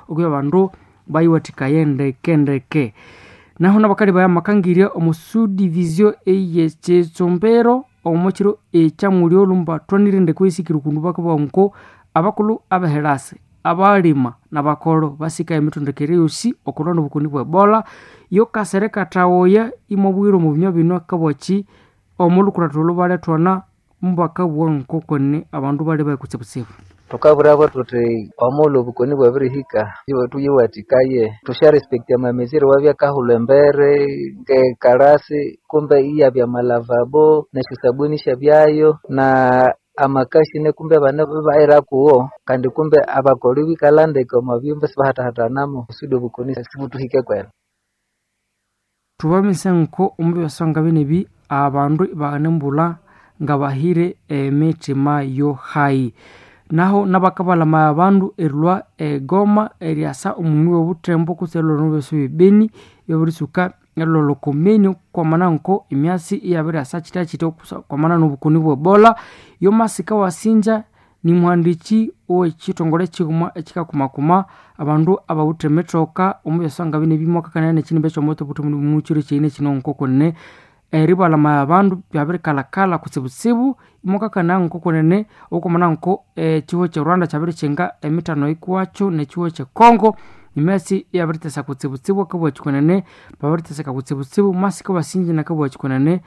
okubya abandu bayiwathikaye ndeke ndeke. Naho nabakali baya makangirya omu subdivision ey'ekitsumbiro omu kiro ekyamulyo lumbathwanire ndeke oyisikire okundu bakabugha nko abakulhu abeherasi, abalima nabakolo basika emithondekere yosi okulwa nobukoni bwe Ebola. Yo kasere kathawoya imwabwire omu binywa bino akabwaki omulhukuratho olho balethwana mubakabugha ngokoni abandu bali bayi kutsibutsibu. Thukabwirabo thuthi omughulhu obukoni bwabirihika thuyiwathikaye thusyarespekta amamezire awabyakahulha embere ngekalasi kumbe iyabya amalavabo nesyosabuni isyabyayo na amakashine kumbe abana ibayirakuwo kandi kumbe abakolho ibikalha ndeke omo byumba isibahathahathanamo kusudi obukoni sibuthihike kwene. Thubamise nko omu byaswanga binebi abandu ibanembulha ngabahire emitima yohayi. Naho nabakabalamaya abandu erilhwa egoma eryasa omumi wobuthembo kutse erilhwa omubyosi bye Beni ibabirisuka erilhwa oko kwamana nko emyasi iyabiryasa kyithya kwamana nobukoni bwe Ebola. Yomasika wasinja nimuhandiki owekyithongole kyighuma ekyikakumakuma abandu abawithe emithoka omu byaswanga binebi mwakakanaya nekyinimba ekyomutwe obuthemu mukyiro kyeyine kino nkokunene eribalamaya abandu byabirikalhakalha kutsibutsibu imwakakanaya nkokunene okwamana nko ekyihugho kye Rwanda kyabirikyinga emithano yikuwakyo nekyihugho kye Congo emyasi iyabiritesa kutsibutsibu akabugha kyikunene babiriteseka kutsibutsibu masika wasinja nakabugha kyikunene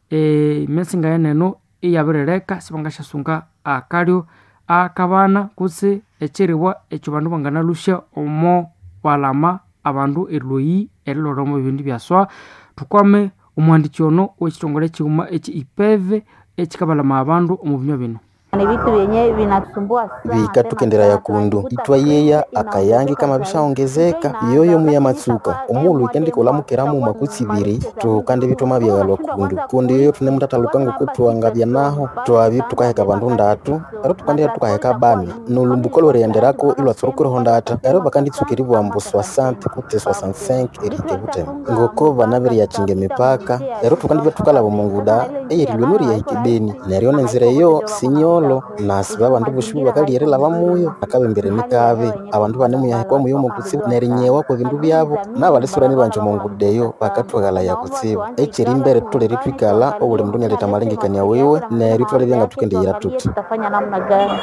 emyasi ngayeneno iyabirileka sibangasyasunga akalyo akabana kutse ekyiribwa ekyo bandu banganalusya omo balama abandu erilhoyi erilholha omo bindi byaswa. Thukwame omuhandiki ono owekithongole kyighuma ekyi IPEV ekyikabalamaya abandu omu binywa bino. Ni vitu vyenye vinatusumbua sana. Bikathukenderaya kundu ithwayeya akayangi kamabishaongezeka yoyo muyamatsuka omughulhu wikendika makutsi ibiri tukandi bithoma byaghalwa kundu kundi yoyo thunemuthathaluka ngoko thwangabya naho twabya thukaheka bandu ndatu ero tukandibya thukaheka bani nolumbuko lwerighenderako ilwatsurukireho ndatha ero bakanditsuka eribugha ambu 60 kutse 65 erihika ebuthema ngoko banabiriyakyinga emipaka ero tukandibya thukalhaba omunguda eyerilhwa eno eriyahika ebeni neryo nenzira eyo sinyolo nasiba abandu bosi bakalya erilhaba muyo akabembere nikabi abandu banemuyahikwa muyo mukutsibu nerinyewa kwebindu byabo nabalisura nibanje omunguda eyo bakathwaghalaya kutsibu ekyerimbere thutholere ithwikalha obuli mundu inyaletha amalengekania wiwe neryo ithwalebya ngathukendiyira thuthi. Tutafanya namna gani?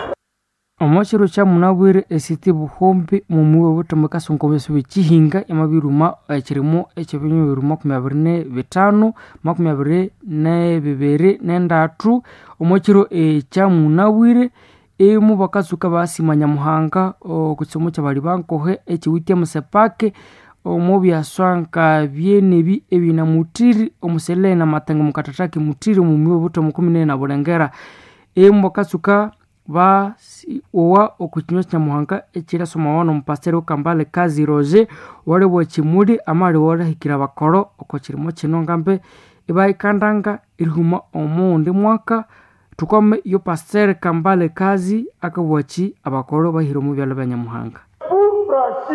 Omo kiro kyamunabwire esiti Buhumbi mumuyi obuthemu kasongo omubyasi bwekyihinga yamabiruma ekyirimo ekyebinywa bibiri 25 22 nendathu. Omo kiro ekyamunabwire emu bakatsuka basima Nyamuhanga okwisomo kyabali bankohe ekyiwithe emusepake omo byaswa nka byenebi ebinamuthiri omuselele namatengo mukathathaki muthiri omumuyi obuthemu 14 na Bulengera. Emu bakatsuka owa okwikinywa kya Nyamuhanga ekyirasomawa nomupasiteri Kambale Kazi Roger owalibwa ekyimuli amaliwa erihikira abakolho oko kyirimo kino ngambe ibayikandanga erihuma omughundi mwaka. Thukwame yo pasiteri Kambale Kazi akabugha abakolho bahire omu byalha bya Nyamuhanga.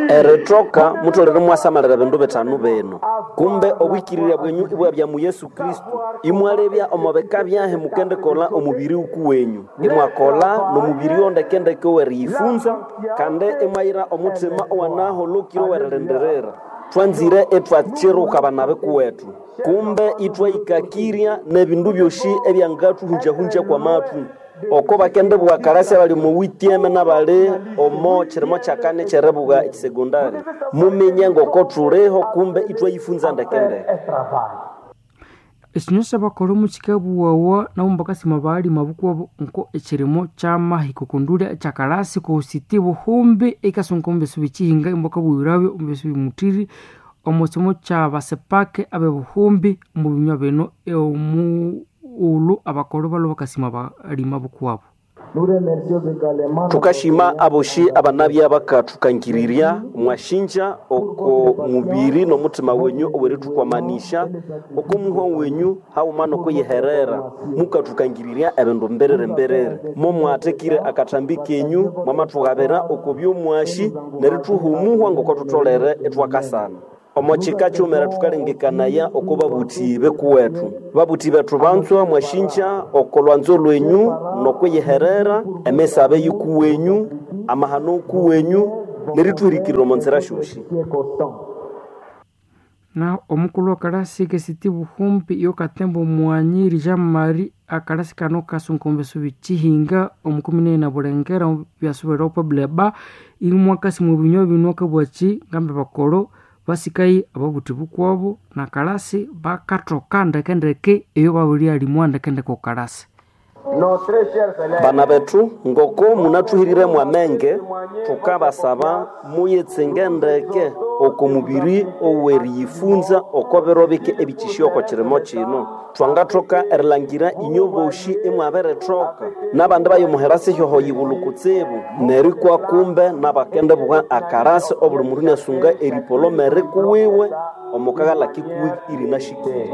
Erithoka mutholere imwasamalira ebindu bithanu bino kumbe obwikirirya bwenyu ibwabya mu Yesu Kristo imwalebya omo bika byahi mukendikolha omubiri wukuwenyu imwakolha nomubiri ondekendeke oweriyifunza kandi imwayira omuthima owanaholokire owerilindirira. Thwanzire ithwakyiruka abanabi kuwethu kumbe ithwayikakirya nebindu byosi ebyangathuhungyahungya kwamathu oko bakendibugha kalasi abali omo witieme nabali omo kirimo kyakani ekyeribugha ekisegondari muminye ngoko thuliho kumbe ithwayifunza ndekendeke. Ekinywa kyabakolho mukikabughawa nabo bakasima balima bukuwabo nko ekyirimo kyamahika okondulya ekyakalasi kositi Buhumbi ekasonga omu byasi byekihinga imbakabugirabyo omu byasi byemuthiri omu kisomo kyabasepake abe Buhumbi omu binywa bino omughulhu abakolho balhwe bakasima balima bukuwabo. Thukashima aboshi abanabya bakathukangirirya mwashinja oko mubiri nomuthima wenyu owerithukwamanisha oko muhwa wenyu haghuma nokuyiherera mukathukangirirya ebindu mbiriri mbiriri momwathekire akathambi kenyu mwamathughabira oko byomwashi nerithuha omuhwa ngoko thutholere ithwakasana. Omo kika kyumera thukalengekanaya oko babuthi bekuwethu babuthi bethu banzwa mwashinja oko lwanzo lwenyu nokwiyiherera emisabe yikuwenyu amahano kuwenyu Nerithuhirikirira omo nzira syosi. Na omukulu wakalasi kesiti buhumbi yokatemba mwanyiri Jean Marie akalasi kano kasunga omubyaso bikihinga omukumi na bulengera byasubira opo buleba imwakasi mu binywa bino akabwaki ngambe bakolo basikayi ababuthi bukwabo nakalasi bakathoka ndekendeke eyo babiryalimwa ndekendeke okalasi. Bana bethu ngoko munathuhirire mwamenge thukabasaba muyitsinge ndeke oko mubiri oweriyifunza oko biro bike ebikisya oko kirimo kino. Thwangathoka erilangira inyo boshi imwabirithoka nabandi bayomuhera sihyoho yibulhu kutsibu nerikwa kumbe nabakendibugha akarasi obuli mundu inasunga eripolomere kuwiwe omukaghalha kikuwi irinashikire.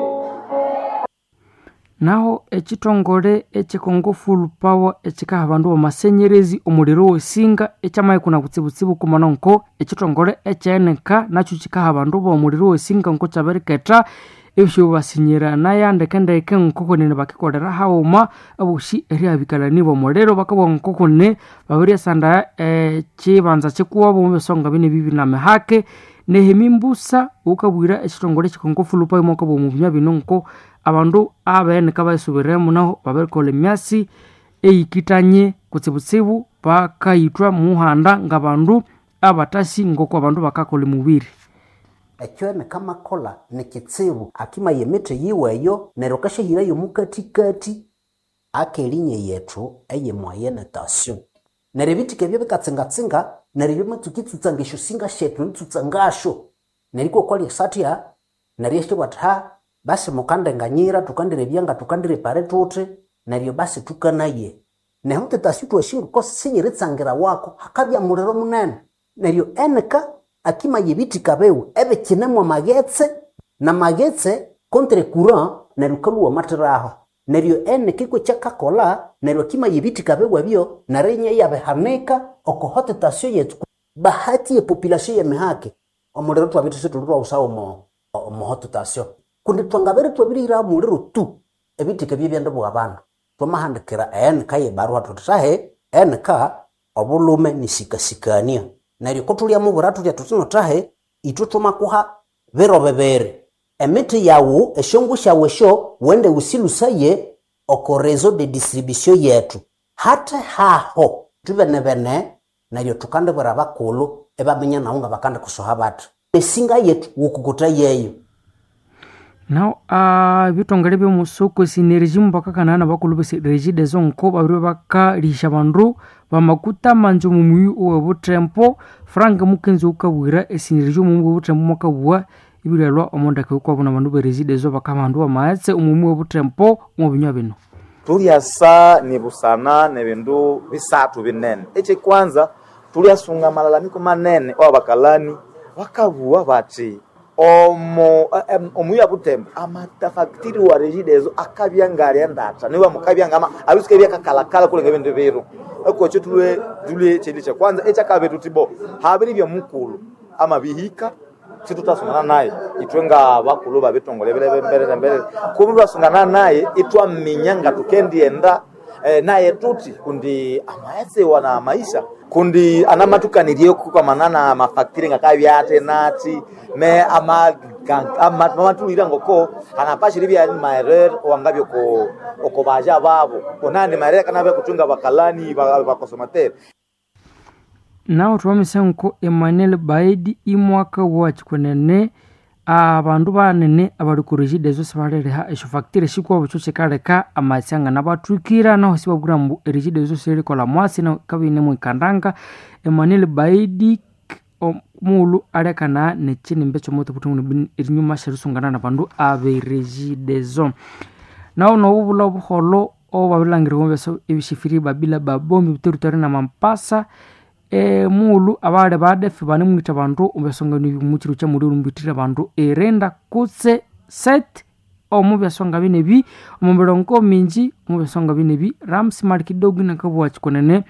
Naho ekithongole ekye Congo Full Power ekikaha abandu b'amasenyerezi omuliro wesinga ekyamaikuna kutsibutsibu kumana nko ekithongole ekyeneka nakyo kikaha abandu b'omuliro wesinga nko kyabiriketha ebyobasinyirana ndekendeke nkokwenene bakikolera haghuma abosi eryabikalani b'omuliro bakabugha nkokune babiryasanda ekibanza kikuwabo mubisonga bine bibi namihake. Nehemi Mbusa wukabwira ekithongole ekye Congo Full Power mwakabugha omu binywa bino nko abandu abenika bayisubiremu naho babirikolha emyasi eyikithanye kutsibutsibu bakayithwa muhanda ngabandu abatasi ngoko abandu bakakolha emubiri. Ekyo nikamakolha nikitsibu akimaya emithi yiweyo neryo akashahirayo omukathikathi akelinya yethu eye moyenne tension. Neryo ebithika ebyo bikatsingatsinga neryo byamatsuka itsutsanga esyosinga syethu eritsutsa ngasyo neryo ikwakwalya satya neryo isyabugha athi ha basi mukandenganyira thukandirebya nga thukandirepare thuthi neryo basi thukanaye. Nehu tetasi thwasi sinyiritsangira wako hakabya muliro munene neryo enika akimaya ebithika biwe ebikinemu amaghetse namaghetse contre courant neryo kalhuwa amathiraho neryo enika ikw'ekyakakolha neryo akimaya ebithika biwe ebyo neryo inya iyabihanika oko haute tension yethu. Bahati ye population yemihake omuliro thwabya isithuli thwawusawo omo haute tension kundi thwangabere thwabirihiraho omuliro tu ebithika ebyo ibyandibugha abandu. Thwamahandikira enika yebarua thuthi thahi enika obulhume nisikasikania neryo kothulhyamubwira thuthya thuthi no thahi ithwe thwamakuha biro bibiri emithi yawu esyongu syawu esyo wende wusilusaye oko réseau de distribution yethu hathe haho thwibenebene neryo thukandibwira abakulhu ibaminya nawu ngabakandikusoha bathi esinga yethu wukukutha yeyo. Naho ebithongole by'omusoko esinergy mubakakanaya nabakulhu b'e Regideso nko babiri bakalihisya abandu bamakuta amanzi omu muyi owe Butembo. Frank Mukenzi wukabwira esinergy omu muyi owe Butembo mwakabugha ibiryalhwa omo ndeke yukwabo nabandu be Regideso bakaha abandu b'amaghetse omu muyi owe Butembo omu binywa bino. Thulyasa nibusana nebindu bisathu binene. Ekyekwanza thulyasunga amalalamiko manene awabakalani bakabugha bathi omo omuyi wa Butembo amatafactiri wa Regideso akabya ngalya ndatha niwa mukabya ngama abisuka byakakalakala kulenga ebindu biro ekokyo tulwe tulwe kyindi kyekwanza ekyakabiri thuthi bo habiribya mukulhu amabihika situthasungana naye ithwe nga bakulhu babitongole mbere mbere kubi twasungana naye ithwaminya nga thukendighenda naye tuthi kundi amaghetse wana maisha kundi anamatukanirye kukamana na mafactory ngakabya ati nati me amamatulira ngoko anapashira ibya maerere wangabya oko oko baja babo konandi maerere kanabya kutunga bakalani bakosomateri. Naho thwamisa nko Emmanuel Baidi imwaka wakikunene abandu banene abali ku Regideso sibaliriha esyofactory sikwabo ekyo kyikaleka amaghetse anganabathwikira naho sibabwira ambu eRegideso siyirikolha mwatsi naho yikabya iyinemwikandanga. Emmanuel Baidi omughulhu alekana nekyinimbi ekyomuthu erinyuma syerisungana nabandu abe Regideso. Naho nobubulha obuholho obwabirilhangirwa omu byasa ebisifiri Babila Babombi territory na Mampasa mughulhu abali badefu banemwitha abandu omu byasonga omu kiro kya muliro mbithira abandu irinda kutse 7 omu byasonga binebi omu mirongo mingi omu byasonga binebi Ramsi Malikidogo nakabugha kikunene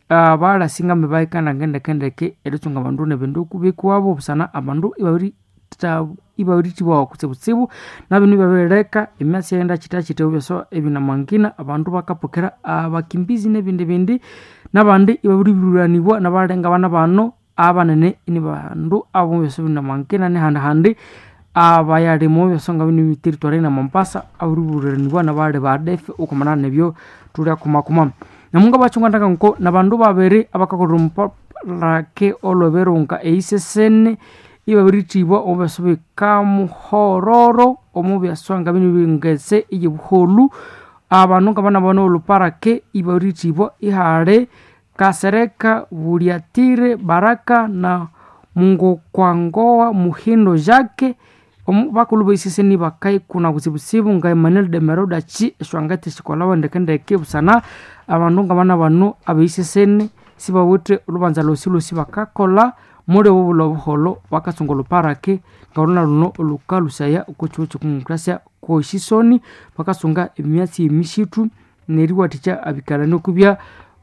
balasinga bahikana ngendekendeke eritsunga abandu nebindu bikuwabo busana abandu ibabirithibwawa kutsibutsibu nabinu ibabireka emyatsi yaghenda kyitakyita ebyaswa ebinamangina abandu bakapokera abakimbizi nebindi bindi nabandi ibabiriburanibwa nabalenga abana bano. Abanene ni bandu abo byosi binamankina nehandi-handi abayalimo byosonga bino territory na Mombasa aburiburanibwa nabali ba ADF okumana nebyo tulya kumakuma. Namunga bachungandaka nko nabandu babiri abakakolera omuparake olweberunga eisesene ibabirithibwa omu byaso bikamuhororo omu byaswanga bino bingese eyebuholu. Abandu ngabana bano oluparake ibabirithibwa ihali Kasereka Buliatire Baraka na Mungokwangowa Muhindo Jacques. Bakulu baiseseni bakaikuna kutsibutsibu nga Emmanuel Demeroda chi eswangate sikolhawa ndekendeke busana abandu ngabana bano abaiseseni sibawithe olubanza lwosi-lwosi bakakolha muli obo bulha obuholho bakasunga oluparake ngaluna luno olukalusaya oko kyihugho ky'okumukrasya kwesisoni. Bakasunga emyatsi y'emisitu neriwathikya abikalani okubya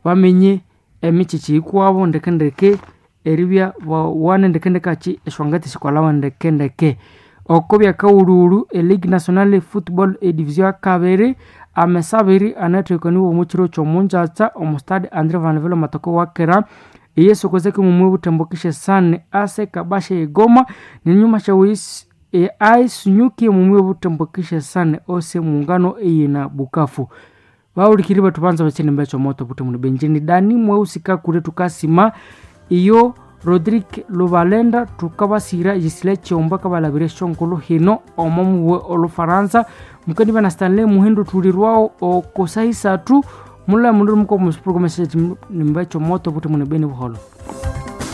bamenye emikyikyi yikwabo ndekendeke eribya bawane ndekendeke akyi esyangate sikolhawa ndekendeke. Oko byakawulhuwulhu e Ligue Nationale Football e Division yakabiri amesa abiri anathekaniwa omu kiro ky'omungyakya omu Stade Andre Vanville amatoko wakera eyesokozeki mumwe butembo kishesane ase kabasha egoma nenyuma syawisi aisunyukie mumwe butembo kishesane ose muungano eyina Bukavu. Bawulikiri bethu banza bakyinemba ekyomoto buthi muni Benjini Dani mwehusika kule tukasima iyo Rodrigue Lubalenda tukabasira Gisile Kyomba kabalabira esyonkulu hino omo muwe olufaransa mukaniba na Stanley Muhindu tulirwawo okosahi isathu mulha mundu muko musi program ekyinemba ekyomoto buthi muni beni buholho.